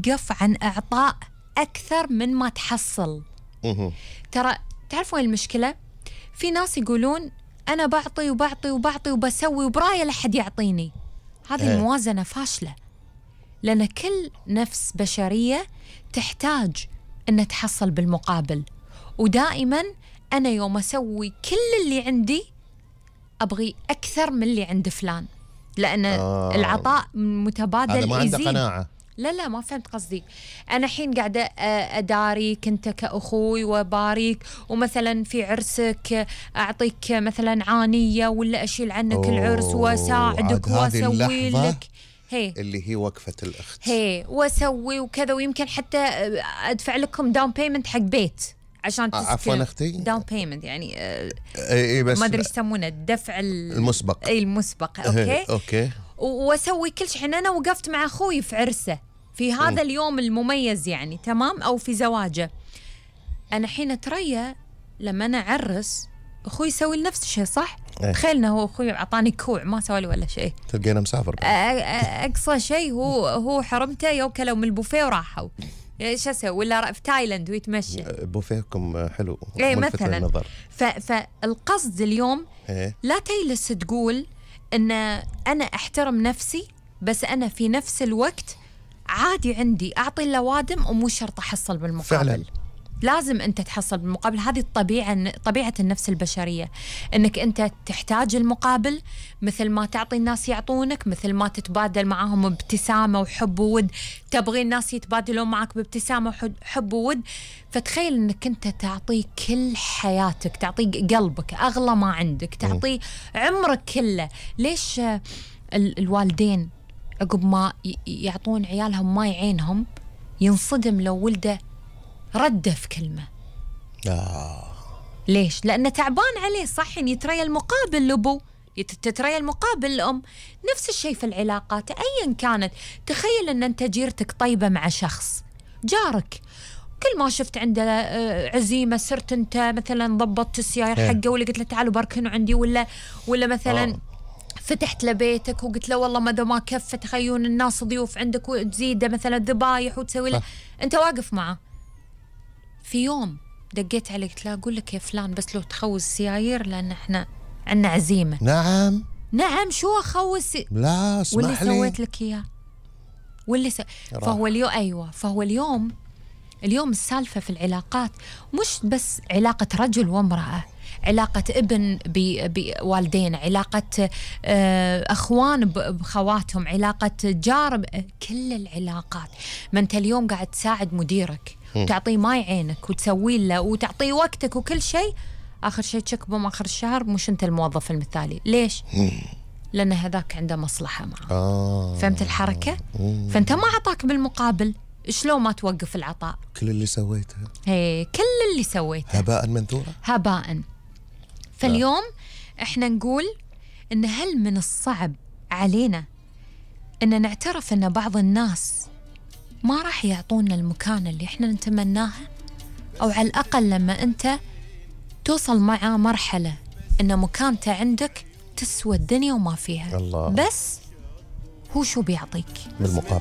توقف عن إعطاء أكثر من ما تحصل. ترى تعرفوا المشكلة؟ في ناس يقولون أنا بعطي وبعطي وبعطي وبسوي وبراية لحد يعطيني. هذه الموازنة فاشلة، لأن كل نفس بشرية تحتاج أن تحصل بالمقابل. ودائما أنا يوم أسوي كل اللي عندي أبغي أكثر من اللي عند فلان، لأن العطاء متبادل. هذا ما عنده قناعة. لا ما فهمت قصدي. أنا حين قاعدة أداريك أنت كأخوي وباريك، ومثلا في عرسك أعطيك مثلا عانية ولا أشيل عنك العرس وأساعدك وأسوي لك اللي هي وقفة الأخت وأسوي وكذا، ويمكن حتى أدفع لكم داون بيمنت حق بيت عشان عفوا أختي، داون بيمنت يعني بس ما أدري يسمونه الدفع المسبق. المسبق. أوكي. وأسوي كل شيء. أنا وقفت مع أخوي في عرسه في هذا اليوم المميز يعني، تمام، أو في زواجه. أنا حين أتريا لما أنا أعرس أخوي يسوي نفس الشيء، صح؟ تخيلنا هو أخوي أعطاني كوع ما سوى لي ولا شيء، تلقينا مسافر. أقصى شيء هو حرمته يوكلوا من البوفيه وراحوا. ايش اسوي؟ ولا في تايلاند ويتمشى. بوفيكم حلو مثلا. فالقصد اليوم لا تجلس تقول ان انا احترم نفسي، بس انا في نفس الوقت عادي عندي اعطي اللوادم ومو شرط احصل بالمقابل. فعلا لازم انت تحصل بالمقابل. هذه طبيعة النفس البشرية، انك انت تحتاج المقابل، مثل ما تعطي الناس يعطونك، مثل ما تتبادل معهم بابتسامة وحب وود، تبغي الناس يتبادلون معك بابتسامة وحب وود. فتخيل انك انت تعطي كل حياتك، تعطي قلبك، اغلى ما عندك، تعطي عمرك كله. ليش الوالدين عقب ما يعطون عيالهم ماي عينهم ينصدم لو ولده رده في كلمة؟ ليش؟ لأنه تعبان عليه، صح؟ يتريى المقابل لأبو، تتريى المقابل لأم. نفس الشيء في العلاقات أيا كانت. تخيل أن أنت جيرتك طيبة مع شخص جارك، كل ما شفت عنده عزيمة صرت أنت مثلا ضبطت السيارة حقه، ولا قلت له تعالوا باركنوا عندي، ولا مثلا فتحت لبيتك وقلت له والله ما كفت تخيون الناس ضيوف عندك وتزيده مثلا ذبايح وتسوي له، أنت واقف معه. في يوم دقيت عليه قلت له أقول لك يا فلان بس لو تخوز السيايير لأن إحنا عندنا عزيمة. نعم شو أخوز لا اسمح لي، واللي سويت لك إياه واللي فهو اليوم فهو اليوم السالفة في العلاقات مش بس علاقة رجل وامرأة، علاقة ابن بوالدين، علاقة أخوان بخواتهم، علاقة جار، كل العلاقات. ما أنت اليوم قاعد تساعد مديرك وتعطيه ماي عينك وتسوي له وتعطيه وقتك وكل شيء، آخر شيء تشكبهم آخر الشهر مش أنت الموظف المثالي. ليش؟ لأن هذاك عنده مصلحة معه. فهمت الحركة؟ فأنت ما عطاك بالمقابل، شلون ما توقف العطاء؟ كل اللي سويته كل اللي سويته هباء منثورا، هباء. فاليوم احنا نقول ان هل من الصعب علينا ان نعترف ان بعض الناس ما راح يعطونا المكان اللي احنا نتمناها، او على الاقل لما انت توصل مع مرحلة ان مكانته عندك تسوى الدنيا وما فيها. الله. بس هو شو بيعطيك بالمقابل؟